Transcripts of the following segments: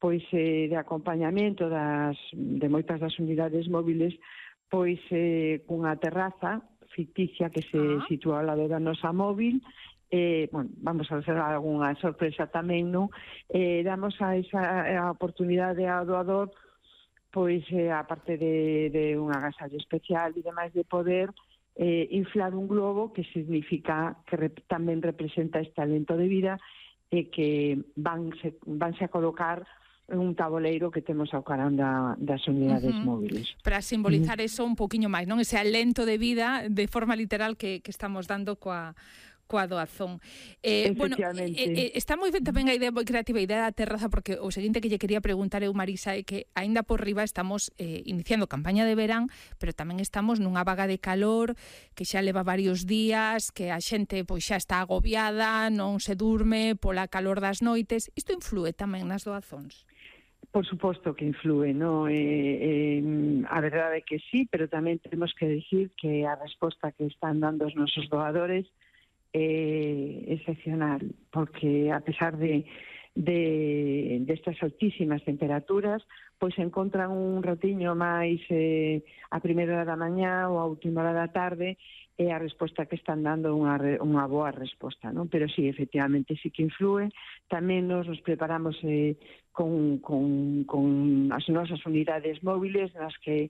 pois de acompañamento de moitas das unidades móviles, pois cunha terraza ficticia que se sitúa ao lado da nosa móvil. Bueno, vamos a hacer algunha sorpresa tamén, non? Damos a oportunidade ao doador, pois, aparte de un agasallo especial e demais, de poder inflar un globo, que significa que tamén representa este alento de vida, e que vanse a colocar en un tabuleiro que temos ao carón das unidades móviles. Para simbolizar eso un poquinho máis, non? Ese alento de vida de forma literal que estamos dando coa doazón. Bueno, está moi ben tamén a idea, moi creativa a idea da terraza, porque o seguinte que lle quería preguntar eu, Marisa, é que aínda por riba estamos iniciando campaña de verán, pero tamén estamos nunha vaga de calor que xa leva varios días, que a xente pois xa está agobiada, non se durme pola calor das noites. Isto inflúe tamén nas doazóns? Por suposto que inflúe, ¿no? A verdade é que sí, pero tamén temos que decir que a resposta que están dando os nosos doadores excepcional, porque a pesar de estas altísimas temperaturas, pois encontran un ratiño máis a primeira hora da mañá ou a última hora da tarde, e a resposta que están dando unha boa resposta, non? Pero sí, efectivamente, sí que influe. Tamén nos preparamos con as nosas unidades móviles nas que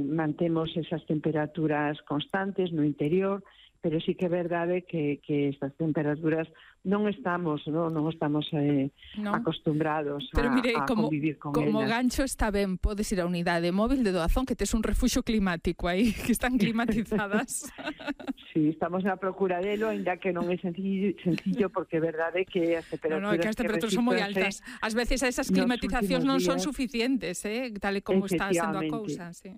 mantemos esas temperaturas constantes no interior, pero sí que é verdade que estas temperaturas non estamos acostumbrados a convivir con elas. Como gancho está ben, podes ir á unidade móvil de doazón, que tes un refuxo climático aí, que están climatizadas. Sí, estamos na procura delo, ainda que non é sencillo, porque é verdade que as temperaturas, que as temperaturas son moi altas. Ás veces esas climatizacións non son suficientes, tal e como está sendo a cousa, sí.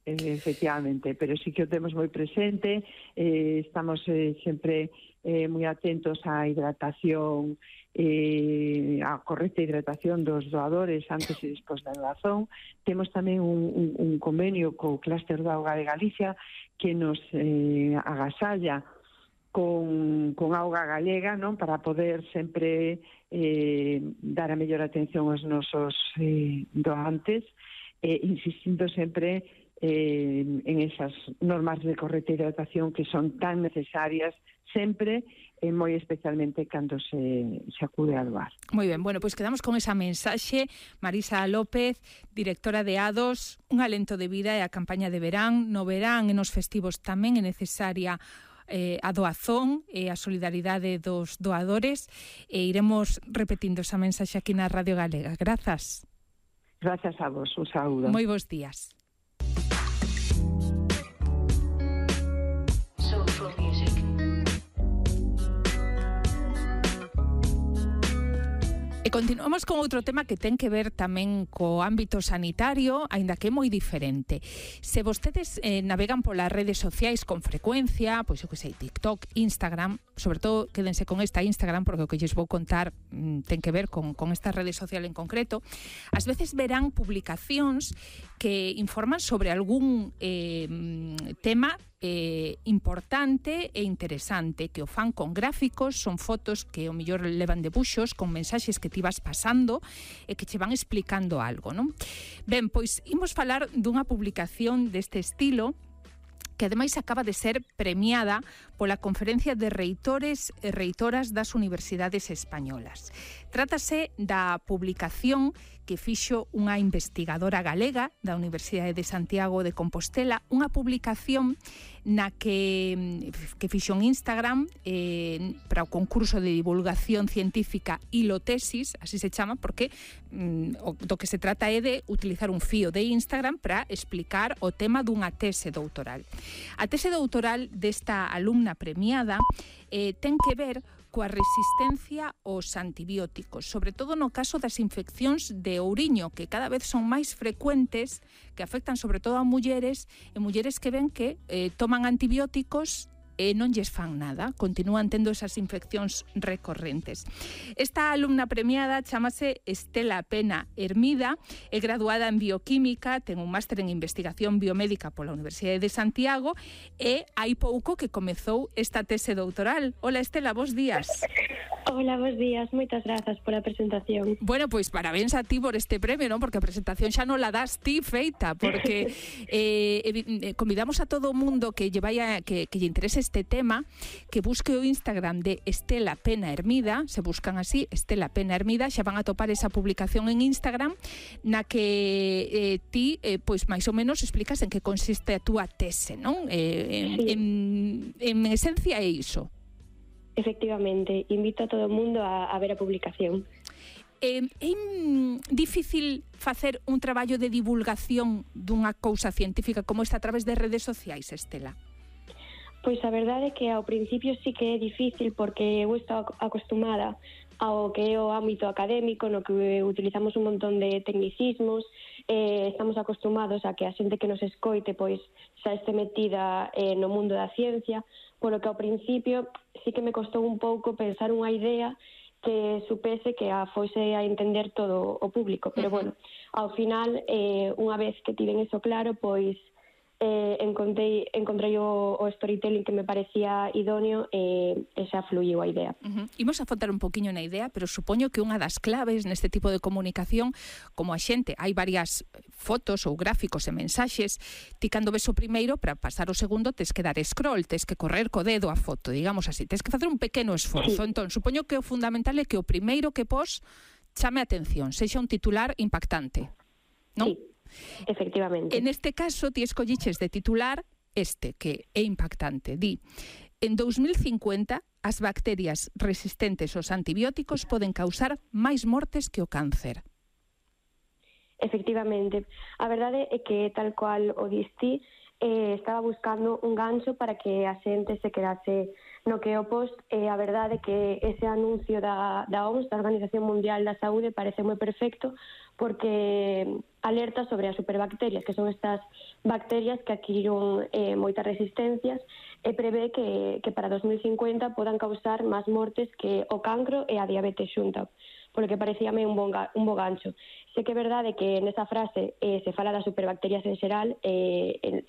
Efectivamente, pero sí que o temos moi presente. Estamos sempre moi atentos á hidratación, a correcta hidratación dos doadores antes e despois da doazón. Temos tamén un convenio co Clúster da Auga de Galicia que nos agasalla con auga galega, non, para poder sempre dar a mellor atención aos nosos doantes, insistindo sempre en esas normas de correcta hidratación que son tan necesarias sempre, moi especialmente cando se acude a doar. Moi ben, bueno, pois quedamos con esa mensaxe. Marisa López, directora de ADOS, un alento de vida e a campaña de verán. No verán e nos festivos tamén é necesaria a doazón e a solidaridade dos doadores, e iremos repetindo esa mensaxe aquí na Radio Galega. Grazas. Grazas a vos, un saúdo. Moi bons días. E continuamos con outro tema que ten que ver tamén co ámbito sanitario, aínda que é moi diferente. Se vostedes navegan polas redes sociais con frecuencia, pois eu que sei, TikTok, Instagram, sobre todo quédense con esta Instagram, porque o que lles vou contar ten que ver con esta rede social en concreto. Ás veces verán publicacións que informan sobre algún tema importante e interesante, que o fan con gráficos, son fotos que o mellor levan debuxos con mensaxes que ti vas pasando e que che van explicando algo, non? Ben, pois imos falar dunha publicación deste estilo que ademais acaba de ser premiada pola Conferencia de Reitores e Reitoras das Universidades Españolas. Trátase da publicación que fixo unha investigadora galega da Universidade de Santiago de Compostela, unha publicación na que fixo en Instagram para o concurso de divulgación científica Hilotesis, así se chama, porque do que se trata é de utilizar un fío de Instagram para explicar o tema dunha tese doutoral. A tese doutoral desta alumna premiada ten que ver coa resistencia aos antibióticos, sobre todo no caso das infeccións de ouriño, que cada vez son máis frecuentes, que afectan sobre todo a mulleres, e mulleres que ven que toman antibióticos e non lles fan nada, continúan tendo esas infeccións recorrentes. Esta alumna premiada chamase Estela Pena Hermida, é graduada en bioquímica, ten un máster en investigación biomédica pola Universidade de Santiago e hai pouco que comezou esta tese doutoral. Hola Estela, bos días. Hola, bos días, moitas grazas pola presentación. Bueno, pois parabéns a ti por este premio, non? Porque a presentación xa non la das ti feita, porque convidamos a todo o mundo que lle interese este tema, que busque o Instagram de Estela Pena Hermida, se buscan así, Estela Pena Hermida, xa van a topar esa publicación en Instagram na que ti, pois máis ou menos explicas en que consiste a túa tese, non? En esencia é iso. Efectivamente, invito a todo o mundo a ver a publicación. É difícil facer un traballo de divulgación dunha cousa científica como esta a través de redes sociais, Estela? Pois a verdade é que ao principio sí que é difícil porque eu estou acostumada ao que é o ámbito académico no que utilizamos un montón de tecnicismos, estamos acostumados a que a xente que nos escoite pois xa este metida no mundo da ciencia, polo que ao principio sí que me costou un pouco pensar unha idea que supese que a fose a entender todo o público, pero bueno, ao final, unha vez que tiven eso claro, pois encontrei o storytelling que me parecía idóneo e xa fluiu a idea. Imos a fotar un poquinho na idea, pero supoño que unha das claves neste tipo de comunicación, como a xente, hai varias fotos ou gráficos e mensaxes, ti cando ves o primeiro, para pasar o segundo, tes que dar scroll, tes que correr co dedo a foto, digamos así, tes que facer un pequeno esforzo. Entón, supoño que o fundamental é que o primeiro que pos chame a atención, sexa un titular impactante, non? Sí. Efectivamente. En este caso, ti escolliches de titular este, que é impactante. Di, en 2050, as bacterias resistentes aos antibióticos poden causar máis mortes que o cáncer. Efectivamente. A verdade é que, tal cual o diste, estaba buscando un gancho para que a xente se quedase no que o post. A verdade é que ese anuncio da OMS, da Organización Mundial da Saúde, parece moi perfecto porque alerta sobre as superbacterias, que son estas bacterias que adquiriron moitas resistencias e prevé que para 2050 podan causar máis mortes que o cancro e a diabetes xunta, polo que parecíame un bo gancho. Sei que é verdade que nesa frase se fala das superbacterias en xeral,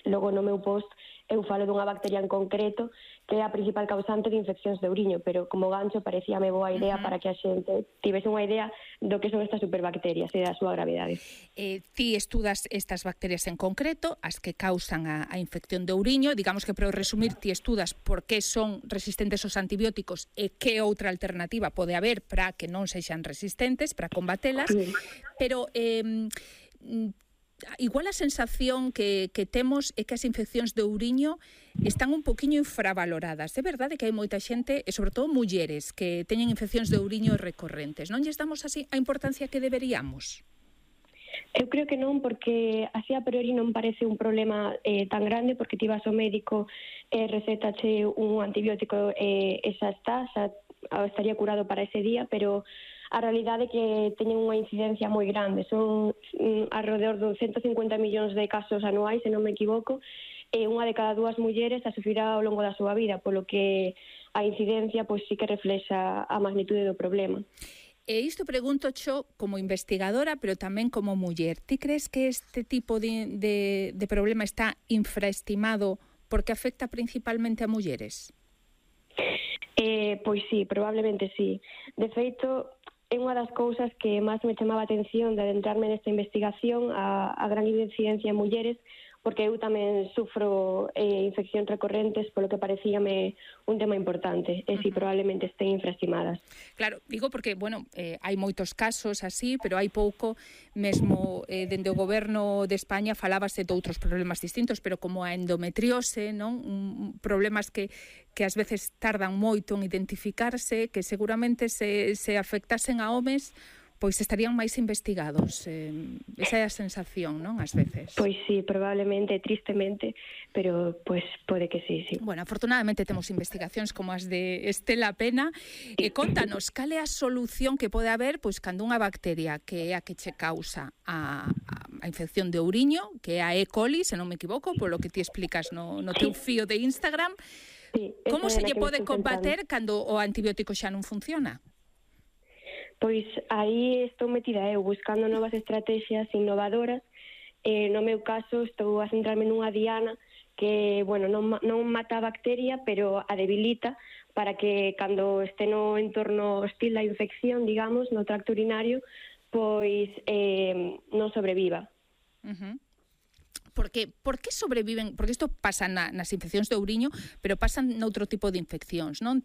logo no meu post eu falo dunha bacteria en concreto que é a principal causante de infeccións de ouriño, pero como gancho parecíame boa idea para que a xente tivese unha idea do que son estas superbacterias e da súa gravidade. Ti estudas estas bacterias en concreto, as que causan a infección de ouriño, digamos que para resumir, ti estudas por que son resistentes aos antibióticos e que outra alternativa pode haber para que non sexan resistentes, para combatelas, pero igual a sensación que temos é que as infeccións de ouriño están un poquinho infravaloradas. É verdade que hai moita xente, e sobre todo mulleres, que teñen infeccións de ouriño recorrentes. Non lles damos así a importancia que deberíamos? Eu creo que non, porque así a priori non parece un problema tan grande, porque ti vas ao médico e recétache un antibiótico e xa está, xa estaría curado para ese día, pero a realidade é que teñen unha incidencia moi grande. Son alrededor de 150 millóns de casos anuais, se non me equivoco, e unha de cada dúas mulleres a sufrirá ao longo da súa vida, polo que a incidencia pois sí que reflexa a magnitude do problema. E isto pregunto xo como investigadora, pero tamén como muller. Ti crees que este tipo de problema está infraestimado porque afecta principalmente a mulleres? Pois sí, probablemente sí. De feito, é unha das cousas que máis me chamaba a atención de adentrarme nesta investigación, a gran incidencia en mulleres, porque eu tamén sufro infeccións recorrentes, polo que parecíame un tema importante, e si probablemente estén infraestimadas. Claro, digo porque, bueno, hai moitos casos así, pero hai pouco, mesmo dende o goberno de España falábase de outros problemas distintos, pero como a endometriose, non? Problemas que ás veces tardan moito en identificarse, que seguramente se afectasen a homes, pois estarían máis investigados. Esa é a sensación, non? Ás veces. Pois sí, probablemente, tristemente, pero pois pode que sí, sí. Bueno, afortunadamente temos investigacións como as de Estela Pena. Contanos, cal é a solución que pode haber pois cando unha bacteria que é a que che causa a infección de ouriño, que é a E. coli, se non me equivoco, polo que ti explicas no teu fío de Instagram, Sí, como se lle pode combater cando o antibiótico xa non funciona? Pois aí estou metida eu buscando novas estrategias innovadoras. No meu caso estou a centrarme nunha diana que, bueno, non mata a bacteria, pero a debilita para que cando este no entorno hostil da infección, digamos, no tracto urinario, pois non sobreviva. Por que sobreviven? Porque isto pasa nas infeccións do ouriño, pero pasan noutro tipo de infeccións, non?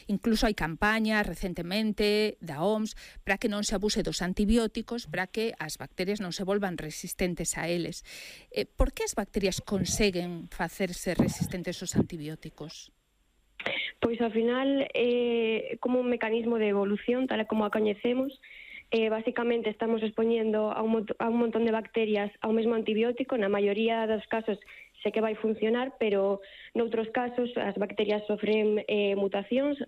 Incluso hai campañas recentemente da OMS para que non se abuse dos antibióticos, para que as bacterias non se volvan resistentes a eles. Por que as bacterias conseguen facerse resistentes aos antibióticos? Pois ao final é como un mecanismo de evolución, tal como a coñecemos. Básicamente estamos expoñendo a un montón de bacterias ao mesmo antibiótico. Na maioría dos casos sei que vai funcionar, pero noutros casos as bacterias sofren mutacións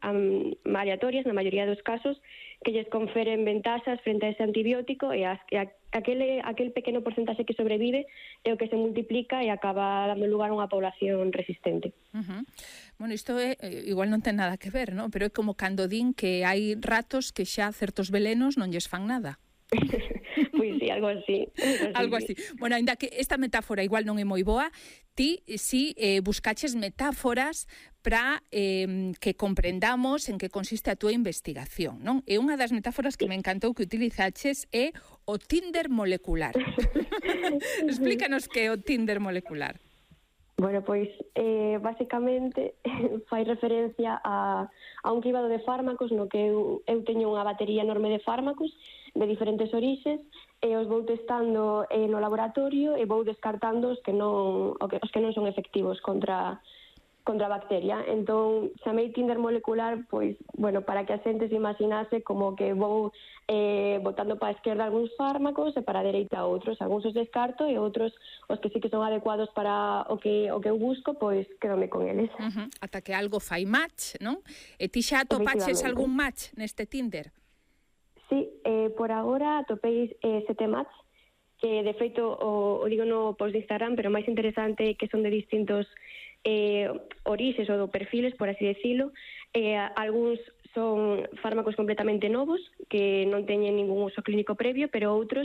aleatorias, na maioría dos casos, que lles conferen ventaxas frente a ese antibiótico, e aquel pequeno porcentaxe que sobrevive é o que se multiplica e acaba dando lugar a unha población resistente. Bueno, isto igual non ten nada que ver, non? Pero é como cando din que hai ratos que xa certos velenos non lles fan nada. Pois sí, algo así. Algo así. Bueno, ainda que esta metáfora igual non é moi boa, ti si buscaches metáforas para que comprendamos en que consiste a túa investigación, non? E unha das metáforas que me encantou que utilizaches é o Tinder molecular. Explícanos que é o Tinder molecular. Bueno, pois, basicamente, fai referencia a un cribado de fármacos no que eu teño unha batería enorme de fármacos de diferentes orixes e os vou testando no laboratorio e vou descartando os que non son efectivos contra a bacteria. Entón, chamei Tinder molecular, pois, bueno, para que a xente se imaginase como que vou botando para a esquerda algúns fármacos e para a dereita outros. Algúns os descarto e outros, os que sí que son adecuados para o que eu busco, pois quedome con eles. Ata que algo fai match, non? E ti xa atopaches algún match neste Tinder? Sí, por agora atopei 7 match, que de feito o digo no post de Instagram, pero máis interesante que son de distintos orixes ou perfiles, por así decirlo. Algúns son fármacos completamente novos que non teñen ningún uso clínico previo, pero outros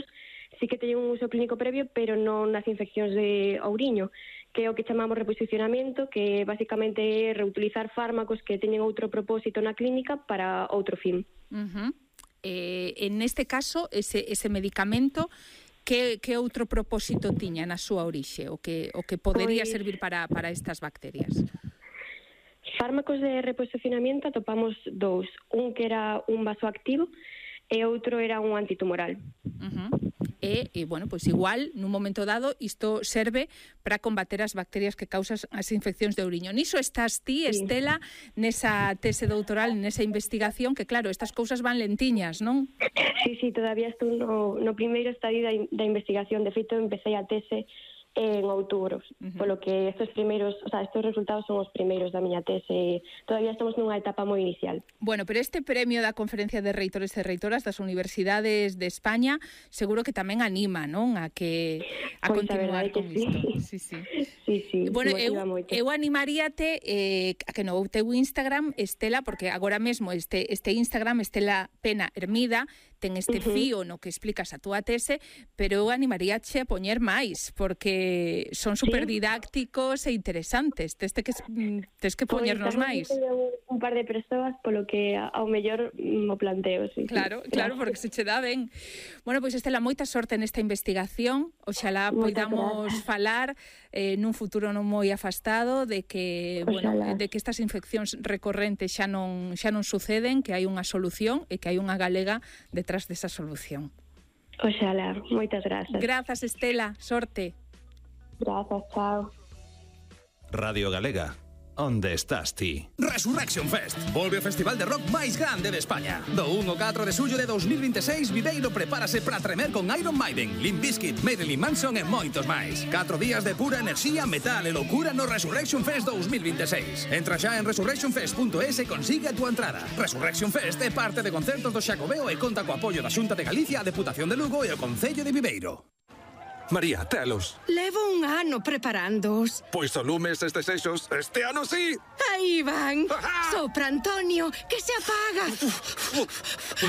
sí que teñen un uso clínico previo, pero non nas infeccións de ouriño, que é o que chamamos reposicionamento, que basicamente é reutilizar fármacos que teñen outro propósito na clínica para outro fin. En este caso, ese medicamento, que outro propósito tiña na súa orixe, o que podería servir para estas bacterias? Fármacos de reposicionamento atopamos dous. Un que era un vasoactivo e outro era un antitumoral. E, bueno, pois igual, nun momento dado, isto serve para combater as bacterias que causan as infeccións de ouriño. Niso estás ti, Estela, nesa tese doutoral, nesa investigación, que claro, estas cousas van lentiñas, non? Sí, todavía estou no primeiro estadio da investigación. De feito, empecé a tese en outubro, polo que estes resultados son os primeiros da miña tese. Todavía estamos nunha etapa moi inicial. Bueno, pero este premio da Conferencia de Reitores e Reitoras das Universidades de España seguro que tamén anima, non? A continuar con isto. Sí. Bueno, eu animaríate a que no teu Instagram, Estela, porque agora mesmo este Instagram, Estela Pena Hermida, ten este fío no que explicas a túa tese, pero eu animaríache a poñer máis, porque son superdidácticos e interesantes. Tes que poñernos máis. Un par de persoas, polo que ao mellor mo planteo. Claro, porque se che dá ben. Bueno, pois Estela, moita sorte nesta investigación. Oxalá poidamos falar nun futuro non moi afastado de que estas infeccións recorrentes xa non suceden, que hai unha solución e que hai unha galega detrás desa solución. Oxalá, moitas grazas. Grazas, Estela, sorte. Grazas, chao. Radio Galega, onde estás ti? Resurrection Fest, volve o festival de rock máis grande de España. Do 1 ao 4 de xullo de 2026, Viveiro prepárase para tremer con Iron Maiden, Limp Bizkit, Marilyn Manson e moitos máis. 4 días de pura enerxía, metal e loucura no Resurrection Fest 2026. Entra xa en resurrectionfest.es e consigue a túa entrada. Resurrection Fest é parte de concertos do Xacobeo e conta co apoio da Xunta de Galicia, a Deputación de Lugo e o Concello de Viveiro. María, telos. Levo un ano preparándoos. Pois o lumes estes desexos, este ano sí. Aí van. Sopra, Antonio, que se apaga.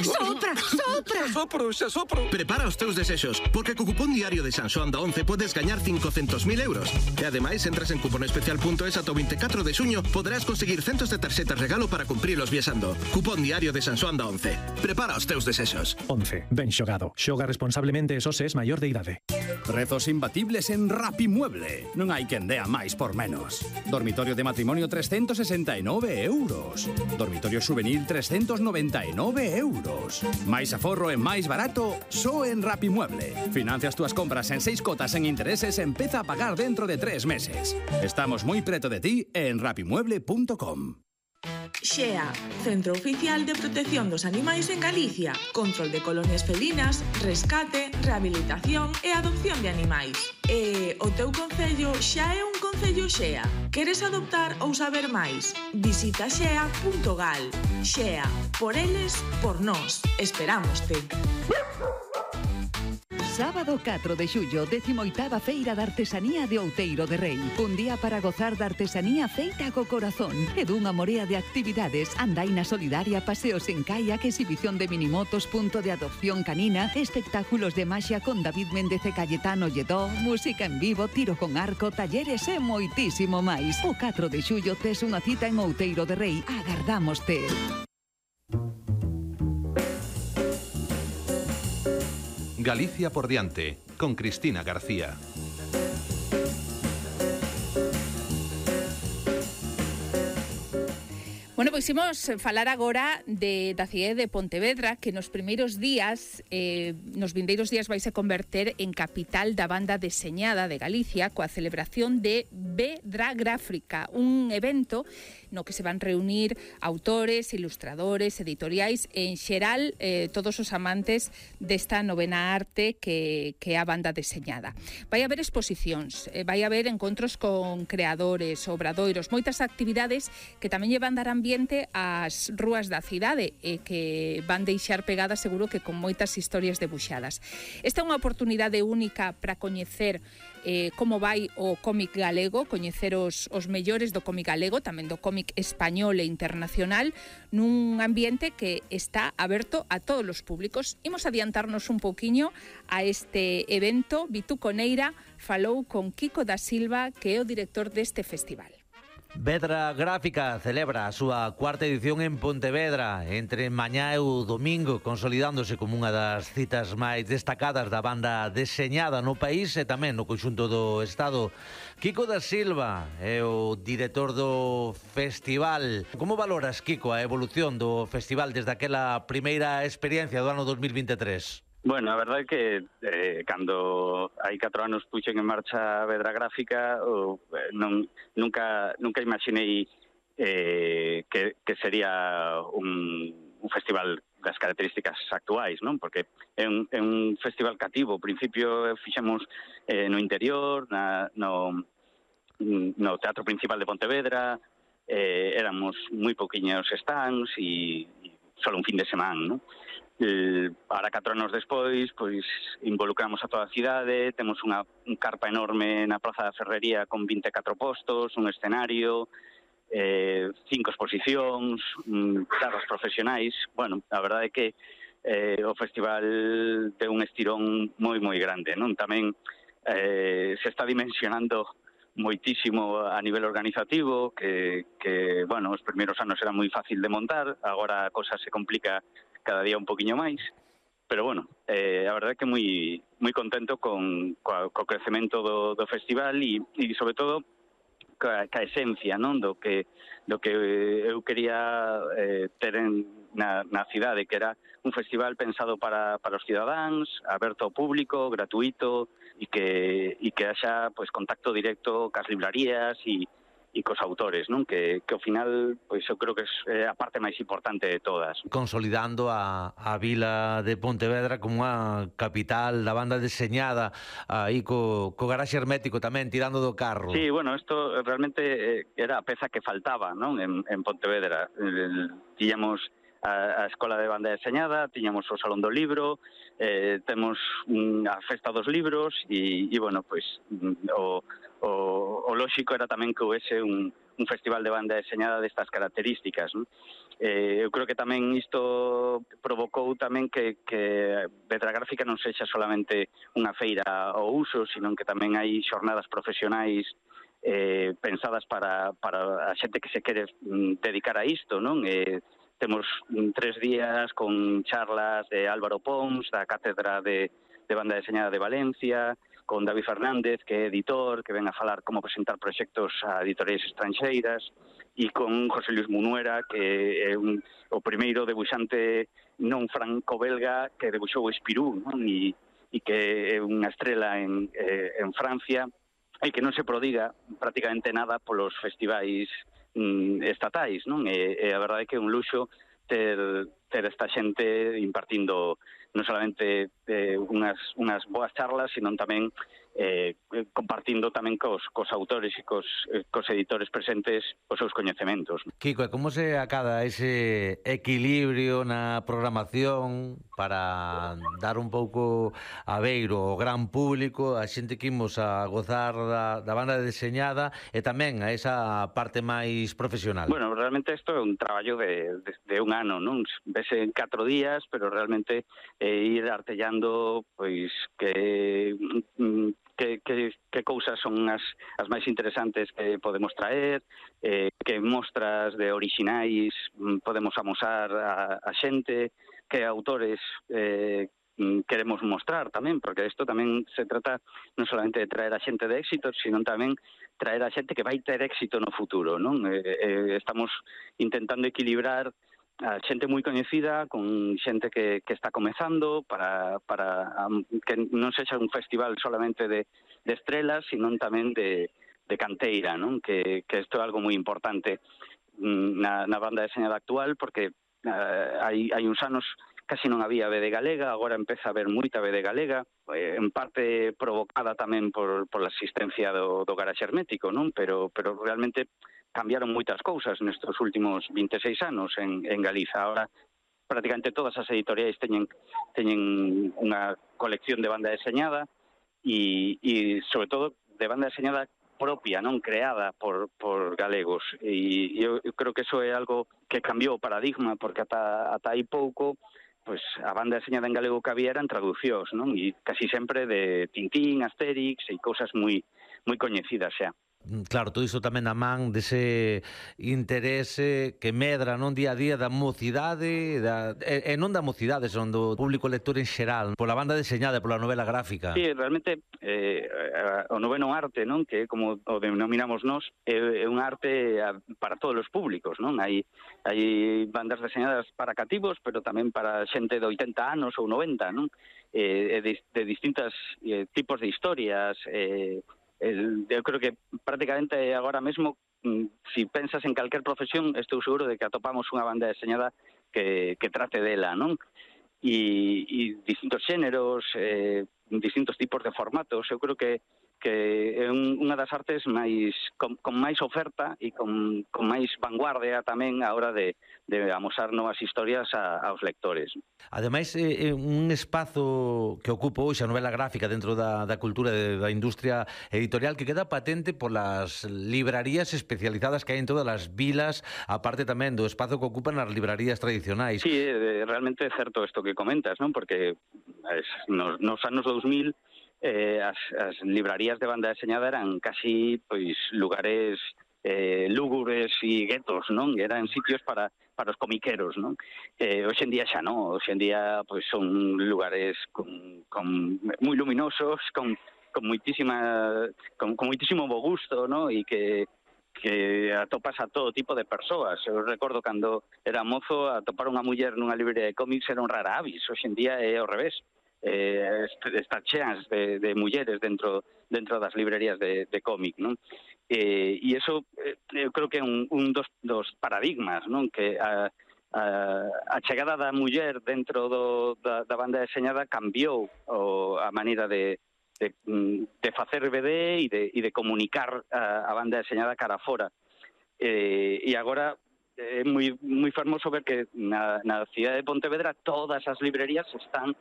Sopra, sopra. Xa sopro. Prepara os teus desexos, porque co cupón diario de San Xoán da 11 podes gañar 500.000 euros. E ademais, entras en cuponespecial.es ata o 24 de xuño, poderás conseguir centos de tarxetas regalo para cumprilos viaxando. Cupón diario de San Xoán da 11. Prepara os teus desexos. 11. Ben xogado. Xoga responsablemente e só se es maior de idade. Prezos imbatibles en Rapimueble. Non hai quen dea máis por menos. Dormitorio de matrimonio 369 euros. Dormitorio juvenil 399 euros. Máis aforro e máis barato só en Rapimueble. Financias túas compras en 6 cotas en intereses e empeza a pagar dentro de 3 meses. Estamos moi preto de ti en rapimueble.com. XEA, Centro Oficial de Protección dos Animais en Galicia. Control de colonias felinas, rescate, rehabilitación e adopción de animais. E o teu concello xa é un concello XEA. Queres adoptar ou saber máis? Visita xea.gal. XEA, por eles, por nós. Esperámoste. Sábado 4 de xullo, 18ª Feira de Artesanía de Outeiro de Rei. Un día para gozar da artesanía feita co corazón e dunha morea de actividades, andaina solidaria, paseos en kayak, exhibición de minimotos, punto de adopción canina, espectáculos de maxia con David Méndez e Cayetano Lledó, música en vivo, tiro con arco, talleres e moitísimo máis. O 4 de xullo tes unha cita en Outeiro de Rei. Agardámoste. Galicia por diante, con Cristina García. Bueno, pois imos falar agora da cidade de Pontevedra, que nos primeiros días, nos vindeiros días vai se converter en capital da banda deseñada de Galicia, coa celebración de Vedragráfica, un evento no que se van reunir autores, ilustradores, editoriais, en xeral todos os amantes desta novena arte que é a banda deseñada. Vai haber exposicións, vai haber encontros con creadores, obradoiros, moitas actividades que tamén lle van dar ambiente ás rúas da cidade e que van deixar pegadas seguro que con moitas historias debuxadas. Esta é unha oportunidade única para coñecer como vai o cómic galego, coñecer os mellores do cómic galego, tamén do cómic español e internacional, nun ambiente que está aberto a todos os públicos. Imos adiantarnos un pouquiño a este evento. Vituco Neira falou con Kiko da Silva, que é o director deste festival. Vedragráfica celebra a súa cuarta edición en Pontevedra entre mañá e o domingo, consolidándose como unha das citas máis destacadas da banda deseñada no país e tamén no conxunto do Estado. Kiko da Silva é o director do festival. Como valoras, Kiko, a evolución do festival desde aquela primeira experiencia do ano 2023? Bueno, a verdade é que cando hai 4 anos puxen en marcha a Vedragráfica nunca imaginei que sería un festival das características actuais, non? Porque é un festival cativo. Ao principio fixemos no interior, no Teatro Principal de Pontevedra, éramos moi pouquiños stands e só un fin de semana, non? Ahora 4 anos despois, pois involucramos a toda a cidade, temos un carpa enorme na Praza da Ferrería con 24 postos, un escenario, 5 exposicións, charlas profesionais. Bueno, a verdade é que o festival ten un estirón moi grande, non? Tamén se está dimensionando moitísimo a nivel organizativo, que bueno, os primeiros anos era moi fácil de montar, agora a cosa se complica cada día un poquinho máis, pero bueno, a verdade é que moi contento co crecemento do festival e sobre todo ca esencia, non, do que eu quería ter na cidade, que era un festival pensado para os cidadáns, aberto ao público, gratuito e que haxa pois contacto directo cas librarías e cos autores, non? Que ao final, pois eu creo que é a parte máis importante de todas. Consolidando a vila de Pontevedra como unha capital da banda deseñada, aí co garaxe hermético tamén, tirando do carro. Sí, bueno, isto realmente era a peza que faltaba, non? En Pontevedra. Tiñamos a Escola de Banda Deseñada, tiñamos o Salón do Libro, temos a Festa dos Libros e bueno, pois o lóxico era tamén que houvese un festival de banda deseñada destas características, non? Eu creo que tamén isto provocou tamén que Vedra Gráfica non sexa solamente unha feira ao uso, sino que tamén hai xornadas profesionais pensadas para a xente que se quere dedicar a isto, non? Temos 3 días con charlas de Álvaro Pons, da Cátedra de Banda Deseñada de Valencia, con David Fernández, que é editor, que ven a falar como presentar proxectos a editoriais estranxeiras, e con José Luis Munuera, que é o primeiro debuxante non franco-belga que debuxou Espirú, non? E que é unha estrela en Francia, e que non se prodiga prácticamente nada polos festivais estatais, non? E a verdade é que é un luxo ter esta xente impartindo non solamente unhas boas charlas, sino tamén compartindo tamén cos autores e cos editores presentes os seus coñecementos. Kiko, como se acada ese equilibrio na programación para dar un pouco a beiro ao gran público, a xente que imos a gozar da banda deseñada e tamén a esa parte máis profesional? Bueno, realmente isto é un traballo de un ano, non? Vese en 4 días, pero realmente ir artellando pois que cousas son as máis interesantes que podemos traer, que mostras de orixinais podemos amosar a xente, que autores queremos mostrar tamén, porque isto tamén se trata non solamente de traer a xente de éxito, sino tamén traer a xente que vai ter éxito no futuro, non? Estamos intentando equilibrar a xente moi coñecida con xente que está comezando para que non sexa un festival solamente de estrelas, sino tamén de canteira, non? Que isto é algo moi importante na banda deseñada actual, porque hai uns anos casi non había BD galega, agora empeza a haber moita BD galega, en parte provocada tamén por a existencia do garaxe hermético, non? Pero realmente cambiaron moitas cousas nestes últimos 26 anos en Galiza. Ahora prácticamente todas as editoriais teñen unha colección de banda deseñada e sobre todo de banda deseñada propia, non creada por galegos. E eu creo que eso é algo que cambiou o paradigma, porque ata hai pouco pois a banda deseñada en galego que había eran traducións, non? E casi sempre de Tintín, Asterix e cousas moi coñecidas xa. Claro, todo iso tamén na man dese interese que medra non día a día da mocidade, e non da mocidade, son do público lector en xeral, pola banda deseñada e pola novela gráfica. Sí, realmente o noveno arte, non, que como o denominamos nós, é un arte para todos os públicos, non? Hai bandas deseñadas para cativos, pero tamén para xente de 80 anos ou 90, non? De distintos tipos de historias. Eu creo que prácticamente agora mesmo, si pensas en calquer profesión, estou seguro de que atopamos unha banda deseñada que trate dela, non? E distintos xéneros, distintos tipos de formatos. Eu creo que é unha das artes con máis oferta e con máis vanguardia tamén a hora de amosar novas historias aos lectores. Ademais, é un espazo que ocupa hoxe a novela gráfica dentro da cultura da industria editorial que queda patente polas librarías especializadas que hai en todas as vilas, aparte tamén do espazo que ocupan as librarías tradicionais. Sí, realmente é certo isto que comentas, non? Porque nos anos 2000 as librarías de banda deseñada eran casi lugares lúgubres e guetos, non? Eran sitios para os comiqueros, non? Hoxe en día xa non, hoxe en día son lugares moi luminosos, con moitísimo bo gusto, non? E que atopas a todo tipo de persoas. Eu recordo cando era mozo, atopar unha muller nunha librería de cómics era un rara avis. Hoxe en día é ao revés. Están cheas de mulleres dentro das librerías de cómic, non? E iso eu creo que é un dos paradigmas, non? Que a chegada da muller dentro da banda deseñada cambiou a maneira de facer BD e de comunicar a banda deseñada cara fora. E agora é moi fermoso ver que na cidade de Pontevedra todas as librerías están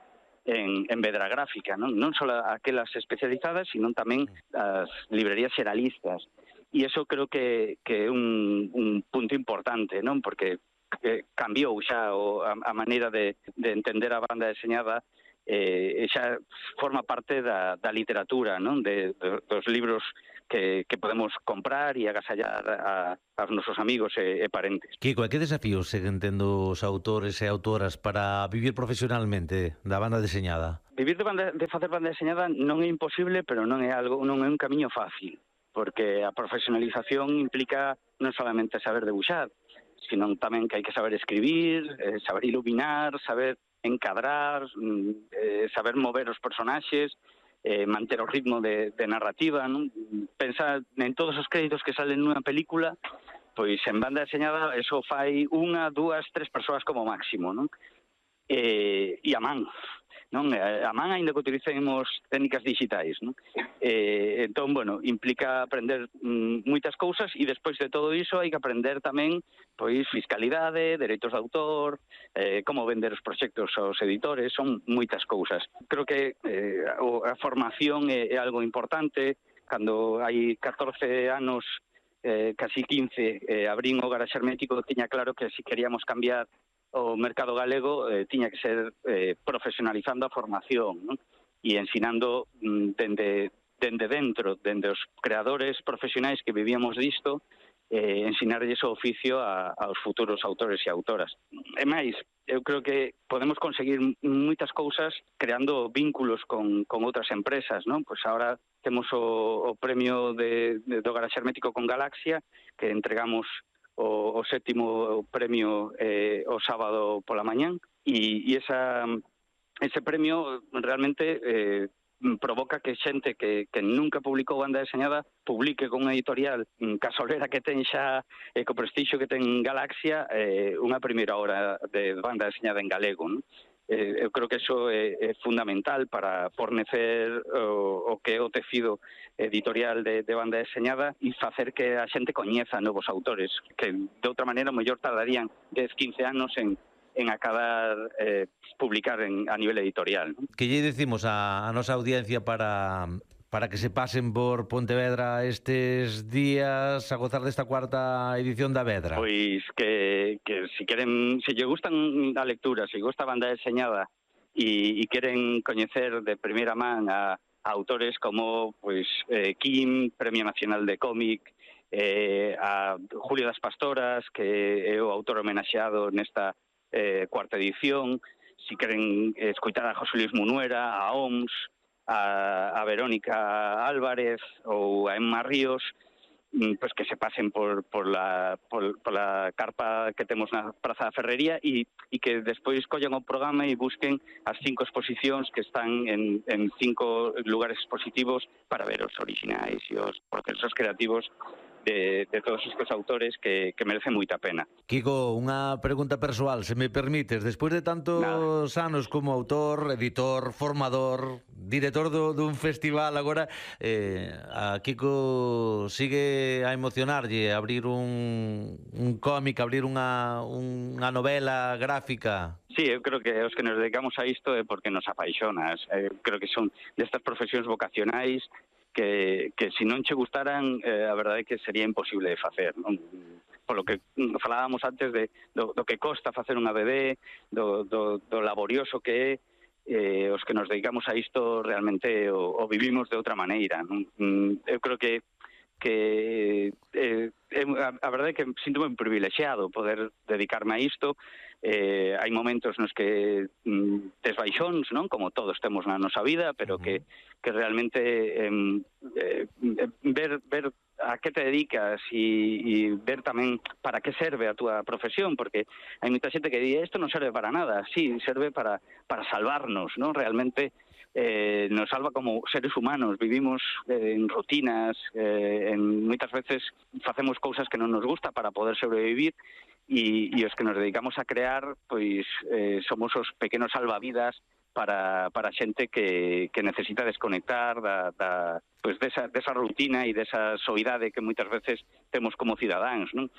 en vedra gráfica, non só aquelas especializadas, sino tamén as librerías xeralistas. E iso creo que é un punto importante, non? Porque cambiou xa a maneira de entender a banda deseñada, xa forma parte da literatura, non? Dos libros que podemos comprar e agasallar aos nosos amigos e parentes. Kiko, e que desafíos seguen tendo os autores e autoras para vivir profesionalmente da banda deseñada? Vivir de facer banda deseñada non é imposible, pero non é un camiño fácil, porque a profesionalización implica non solamente saber debuxar, sino tamén que hai que saber escribir, saber iluminar, saber encadrar, saber mover os personaxes, manter o ritmo de narrativa, non? Pensar en todos os créditos que salen nunha película, pois en banda deseñada eso fai 1, 2, 3 persoas como máximo, non? E a man, non? A man aínda que utilicemos técnicas digitais, non? Entón, bueno, implica aprender moitas cousas e despois de todo iso hai que aprender tamén pois fiscalidade, dereitos de autor, como vender os proxectos aos editores, son moitas cousas. Creo que a formación é algo importante. Cando hai 14 anos, casi 15, abrín o Garaxe Hermético, tiña claro que se queríamos cambiar o mercado galego tiña que ser profesionalizando a formación, non? E ensinando dende dentro, dende os creadores profesionais que vivíamos disto, ensinarlles o oficio aos futuros autores e autoras. E máis, eu creo que podemos conseguir moitas cousas creando vínculos con outras empresas, non? Pois agora temos o premio do Garaxe Hermético con Galaxia, que entregamos o 7º premio o sábado pola mañán, e ese premio realmente provoca que xente que nunca publicou banda deseñada publique con unha editorial casolera que ten xa co prestixio que ten Galaxia unha primeira obra de banda deseñada en galego, non? Eu creo que iso é fundamental para fornecer o que é o tecido editorial de banda deseñada e facer que a xente coñeza novos autores que de outra maneira mellor tardarían 10, 15 anos en acabar publicar a nivel editorial, ¿no? Que lle decimos a nosa audiencia para que se pasen por Pontevedra estes días a gozar desta 4ª edición da Vedra? Pois que se queren, se lle gustan a lectura, se gusta a banda deseñada e queren coñecer de primeira man a autores como pois Kim, Premio Nacional de Cómic, a Julio das Pastoras, que é o autor homenaxeado nesta 4ª edición, si queren escoitar a José Luis Munuera, a OMS, a Verónica Álvarez ou a Emma Ríos, pues que se pasen por la carpa que temos na Praza da Ferrería e que despois collan o programa e busquen as 5 exposicións que están en 5 lugares expositivos para ver os originais e os procesos creativos de todos estes autores que merecen moita pena. Kiko, unha pregunta persoal, se me permites. Despois de tantos anos como autor, editor, formador, director dun festival, agora a Kiko sigue a emocionarlle abrir un cómic, abrir unha novela gráfica? Sí, eu creo que os que nos dedicamos a isto é porque nos apaixonas. Creo que son destas profesións vocacionais que se non che gustaran, a verdade é que sería imposible de facer, non? Polo que falábamos antes do que costa facer unha BD, do laborioso que é, os que nos dedicamos a isto realmente o vivimos de outra maneira, non? Eu creo que a verdade é que síntome un privilexiado poder dedicarme a isto. Hai momentos nos que tes baixóns, non? Como todos temos na nosa vida, pero que realmente ver a que te dedicas e ver tamén para que serve a túa profesión, porque hai moita xente que di isto non serve para nada. Sí, serve para salvarnos, non? Realmente nos salva como seres humanos, vivimos en rutinas, moitas veces facemos cousas que non nos gusta para poder sobrevivir e os que nos dedicamos a crear, pois somos os pequenos salvavidas para xente que necesita desconectar desa rutina e desa soidade que moitas veces temos como cidadáns, non?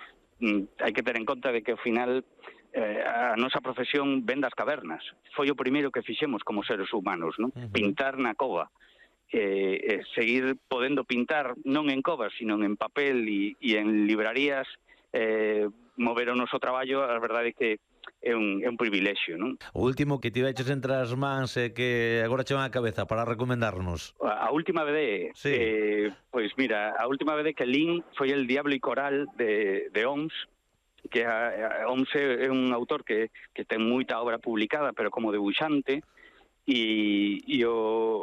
Hai que ter en conta de que ao final a nosa profesión ven das cavernas. Foi o primeiro que fixemos como seres humanos, non? Pintar na cova. Seguir podendo pintar non en covas, sino en papel e en librarías, mover o noso traballo, a verdade é que é un privilexio, non? O último que tiveches entre as mans e que agora che van a cabeza para recomendarnos. A última vez, sí. Pois mira, a última vez que lín foi El Diablo y Coral de Homs, que Homs é un autor que ten moita obra publicada, pero como debuxante, e o